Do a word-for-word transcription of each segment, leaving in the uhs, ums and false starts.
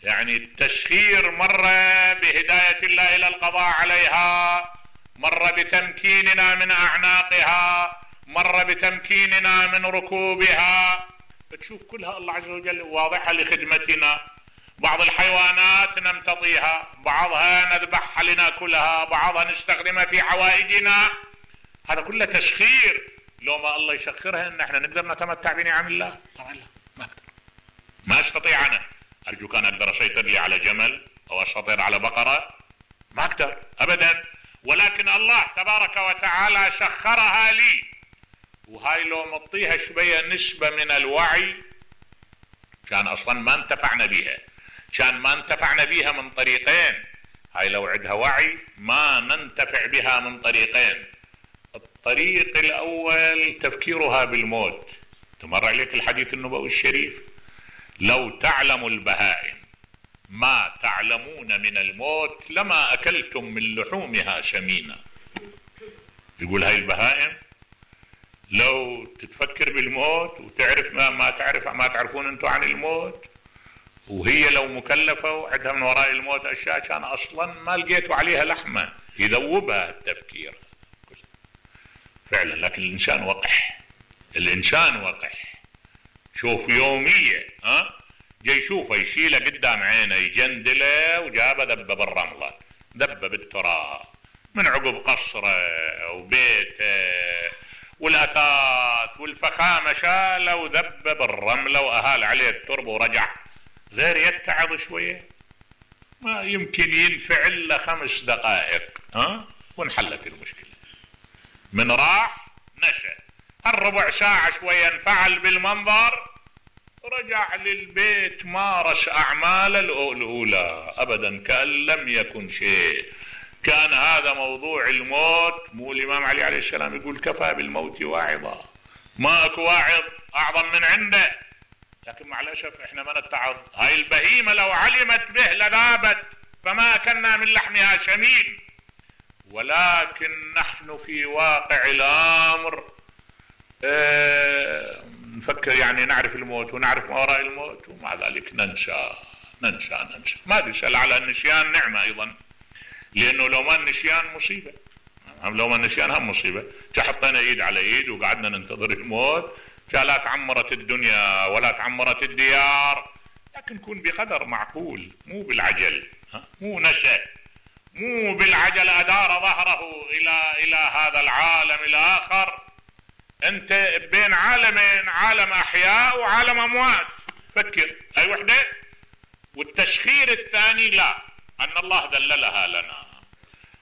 يعني التسخير مرة بهداية الله إلى القضاء عليها، مرة بتمكيننا من أعناقها، مرة بتمكيننا من ركوبها. تشوف كلها الله عز وجل واضحة لخدمتنا. بعض الحيوانات نمتطيها، بعضها نذبحها لناكلها، بعضها نستخدمها في عوائدنا. هذا كله تسخير. لو ما الله يسخرها ان احنا نقدر نتمتع بنعم الله؟ طبعا لا، ما اقدر، ما استطيع. انا ارجو كان اقدر اسيطر لي على جمل او اسيطر على بقرة، ما اقدر ابدا. ولكن الله تبارك وتعالى سخرها لي، وهاي لو مطيها شوية نسبة من الوعي كان اصلا ما انتفعنا بها، كان ما انتفعنا بها من طريقين. هاي لو عندها وعي ما ننتفع بها من طريقين. الطريق الاول تفكيرها بالموت. تمر عليك الحديث النبوي الشريف: لو تعلم البهائم ما تعلمون من الموت لما اكلتم من لحومها سمينا. يقول هاي البهائم لو تتفكر بالموت وتعرف ما ما تعرف ما تعرفون انتم عن الموت، وهي لو مكلفة وعندها من وراء الموت اشياء كان اصلا ما لقيتوا عليها لحمة، يذوبها التفكير فعلا. لكن الانسان وقح، الانسان وقح. شوف يومية ها جاي يشوفه يشيله قدام عينه يجندله وجابه ذبه بالرملة، ذبه بالتراب من عقب قصره وبيته والاثاث والفخامه، شاله وذبه بالرمله واهال عليه التربه ورجع. غير يتعظ شويه ما يمكن ينفعل له خمس دقائق ها وانحلت المشكله. من راح نشأ هالربع ساعه شويه انفعل بالمنظر، رجع للبيت مارس اعماله الاولى ابدا كأن لم يكن شيء. كان هذا موضوع الموت. مو الامام علي عليه السلام يقول: كفى بالموت واعظا، ما اكو واعظ اعظم من عنده. لكن مع الاسف احنا ما نتعظ. هاي البهيمه لو علمت به لذابت فما اكلنا من لحمها سمين. ولكن نحن في واقع الامر اه نفكر يعني نعرف الموت ونعرف ما وراء الموت، ومع ذلك ننسى ننسى ننسى. ما بيسأل على النسيان نعمة أيضا، لأنه لو ما النسيان مصيبة، لو ما النسيان هم مصيبة. حطينا ايد على ايد وقعدنا ننتظر الموت، لا تعمرت الدنيا ولا تعمرت الديار. لكن كن بقدر معقول، مو بالعجل، مو نسى، مو بالعجل أدار ظهره إلى إلى هذا العالم الآخر. أنت بين عالمين، عالم أحياء وعالم أموات. فكر أي وحدة. والتسخير الثاني لا، أن الله دللها لنا.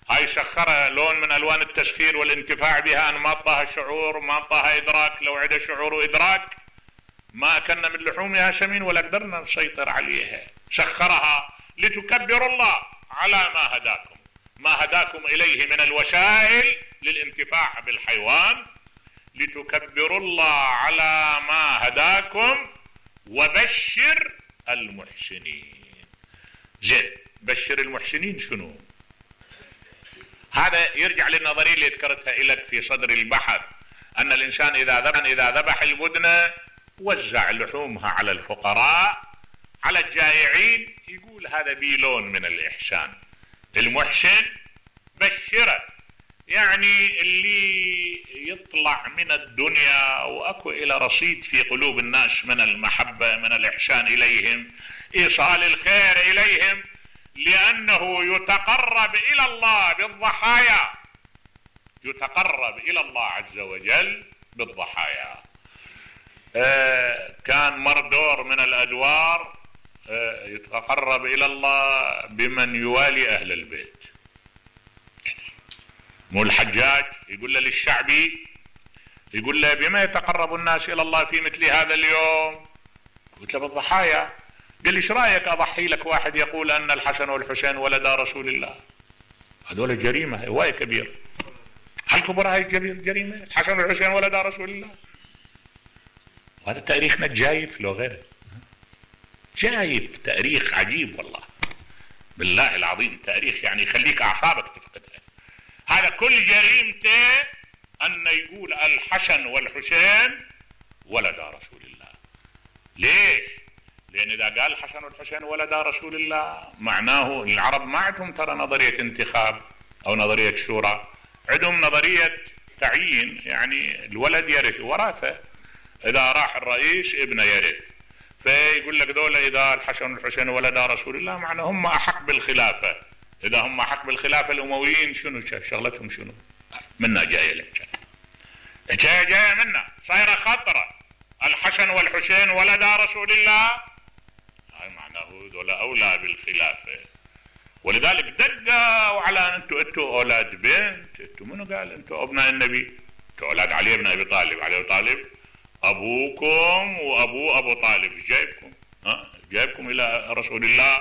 هاي سخرها لون من ألوان التسخير والانتفاع بها، أن ما طاها شعور وما طاها إدراك. لو عدا شعور وإدراك ما أكلنا من لحومها سمين ولا قدرنا نسيطر عليها. سخرها لتكبروا الله على ما هداكم، ما هداكم إليه من الوسائل للانتفاع بالحيوان، لتكبروا الله على ما هداكم وبشر المحسنين. زين، بشر المحسنين شنو؟ هذا يرجع للنظرية اللي ذكرتها لك في صدر البحث، أن الإنسان إذا ذبح إذا ذبح البدنة وزع لحومها على الفقراء على الجائعين، يقول هذا بيلون من الإحسان. المحسن بشره، يعني اللي يطلع من الدنيا وأكو إلى رصيد في قلوب الناس من المحبة، من الإحسان إليهم، إيصال الخير إليهم، لأنه يتقرب إلى الله بالضحايا، يتقرب إلى الله عز وجل بالضحايا. آه كان مردور من الأدوار آه يتقرب إلى الله بمن يوالي أهل البيت. مو الحجاج يقول له للشعبي، يقول له بما يتقرب الناس إلى الله في مثل هذا اليوم؟ قلت له بالضحايا. قال لي ايش رايك اضحي لك واحد يقول ان الحسن والحسين ولدا رسول الله؟ هذول جريمه هوايه كبيره. هل كبر هاي جريمه؟ الحسن والحسين ولدا رسول الله. وهذا تاريخنا جايف لو غيره، جايف تاريخ عجيب والله، بالله العظيم تاريخ يعني يخليك اعصابك تفقدها. هذا كل جريمته ان يقول الحسن والحسين ولدا رسول الله. ليش؟ لأن إذا قال الحسن والحسين ولدا رسول الله معناه العرب ما عندهم ترى نظرية انتخاب أو نظرية شورى، عندهم نظرية تعيين، يعني الولد يرث وراثة، إذا راح الرئيس ابنه يرث، فيقول لك دولة إذا الحسن والحسين ولدا رسول الله معناه هم أحق بالخلافة، إذا هم أحق بالخلافة الأمويين شنو شغلتهم شنو؟ منا جاية لك جاية جاية منا صايرة خطرة، الحسن والحسين ولدا رسول الله هاي معناه دولة أولى بالخلافة. ولذلك دقوا على أن أنتوا أنتوا أولاد بنت، أنتوا منو قال أنتوا أبناء النبي؟ أنتوا أولاد علي بن أبي طالب، علي بن طالب أبوكم وأبو أبو طالب جايبكم، ها جايبكم إلى رسول الله،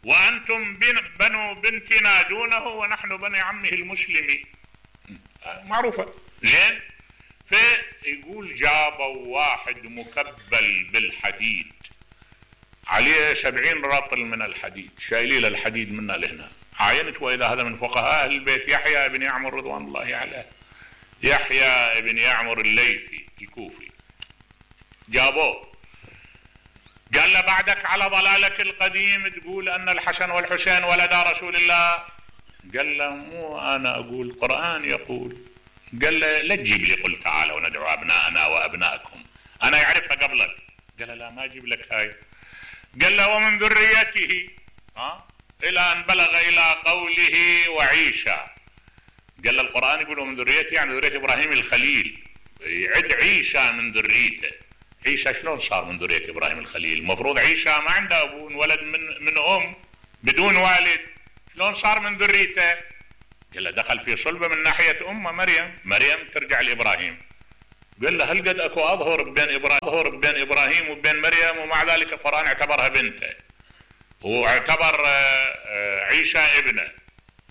وأنتم بنو بنتنا دونه ونحن بني عمه المسلمي، معروفة زين. فيقول جابوا واحد مكبل بالحديد عليه سبعين رطل من الحديد، شايلين الحديد منا لهنا، عاينت وإذا هذا من فقهاء البيت يحيى بن يعمر رضوان الله عليه، يحيى بن يعمر الليثي الكوفي، جابوه قال له بعدك على ضلالك القديم تقول أن الحسن والحسين ولدا رسول الله؟ قال له مو أنا أقول، القرآن يقول. قال له لا تجيب لي قل تعالوا ندعو أبناءنا وأبناءكم، أنا يعرفها قبلك. قال له لا ما أجيب لك هاي. قال له ومن ذريته، ها إلى أن بلغ إلى قوله وعيسى. قال له القرآن يقول ومن ذريته يعني ذرية إبراهيم الخليل، يعد عيسى من ذريته. عيسى شلون صار من ذرية إبراهيم الخليل؟ المفروض عيسى ما عنده أبو، ولد من من أم بدون والد، شلون صار من ذريته؟ قال له دخل في صلبه من ناحية أمه مريم، مريم ترجع لإبراهيم. قال له هل قد أكو أظهر بين إبراهيم أظهر بين إبراهيم وبين مريم، ومع ذلك القرآن اعتبرها بنته واعتبر عيسى ابنه.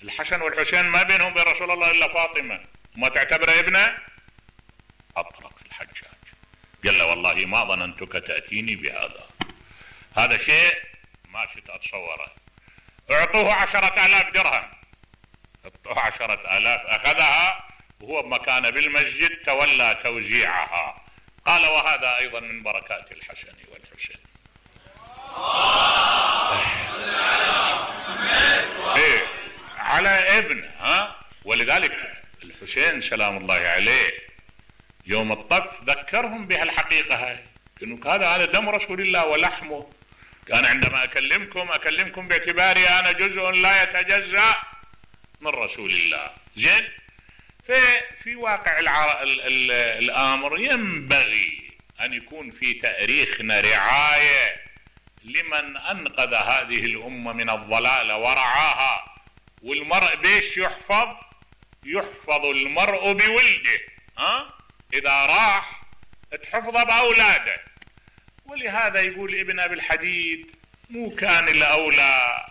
الحسن والحسين ما بينهم وبين رسول الله إلا فاطمة، ما تعتبره ابنه؟ أطرق الحجاج قال له والله ما ظننتك تأتيني بهذا، هذا شيء ما شئت أتصوره. اعطوه عشرة آلاف درهم، اعطوه عشرة آلاف، أخذها وهو بمكان بالمسجد تولى توزيعها. قال وهذا أيضا من بركات الحسن والحسين. ايه على ابن، ها. ولذلك الحسين سلام الله عليه يوم الطف ذكرهم بهالحقيقة هاي، انه هذا هذا دم رسول الله ولحمه. كان عندما اكلمكم اكلمكم باعتباري انا جزء لا يتجزأ من رسول الله. زين. في واقع الع... ال... ال... الامر ينبغي ان يكون في تاريخنا رعاية لمن انقذ هذه الامة من الضلال ورعاها. والمرء بيش يحفظ؟ يحفظ المرء بولده، ها؟ اذا راح تحفظه باولاده. ولهذا يقول ابن ابي الحديد مو كان الاولى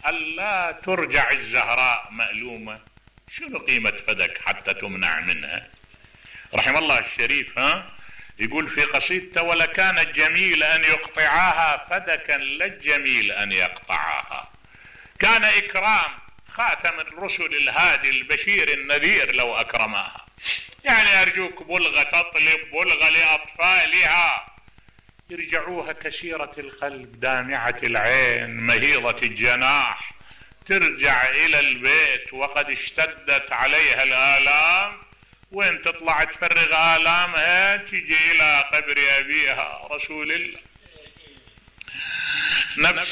الا ترجع الزهراء مألومة، شنو قيمة فدك حتى تمنع منها؟ رحم الله الشريف، ها، يقول في قصيدته ولكان الجميل ان يقطعاها فدكا لا الجميل ان يقطعاها. كان اكرام خاتم الرسل الهادي البشير النذير لو اكرماها. يعني ارجوك بلغة تطلب بلغة لاطفالها، يرجعوها كسيرة القلب دامعة العين مهيضة الجناح، ترجع الى البيت وقد اشتدت عليها الآلام، وين تطلع تفرغ آلامها تجي الى قبر ابيها رسول الله. نفس